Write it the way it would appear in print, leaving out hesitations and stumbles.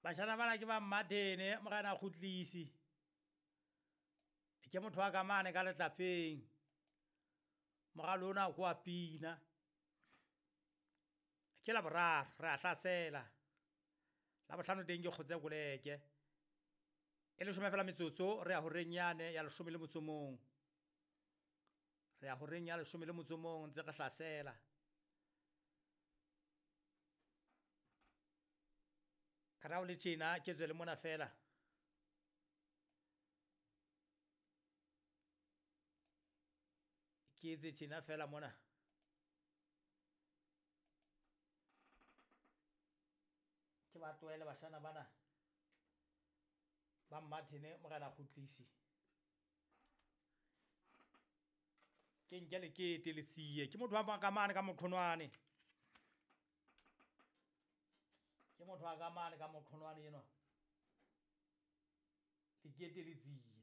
Bashana bana ke ba Mmathene morena Kgutlisi. Ke motho wa ka mane ka letlapeng. Moralo ona ko wa pina. Ke la boraro re a hlasela. La bohlano teng ke kgotse koleke. E leshome fela metsotso re ya horeng yane ya leshome le motso mong. Re ya horeng ya leshome le motso mong ntse re hlasela. Ra o le tjena ke tswe le mona fela. Ke etse tjena fela mona. Ke ba tlohele bashana bana ba Mmathene morena Kgutlisi. Ke nke lekete le tsie. Ke motho wa ka mane ka moqhonwane. Ke motho wa ka mane ka moqhonwane enwa. Lekete le tsie.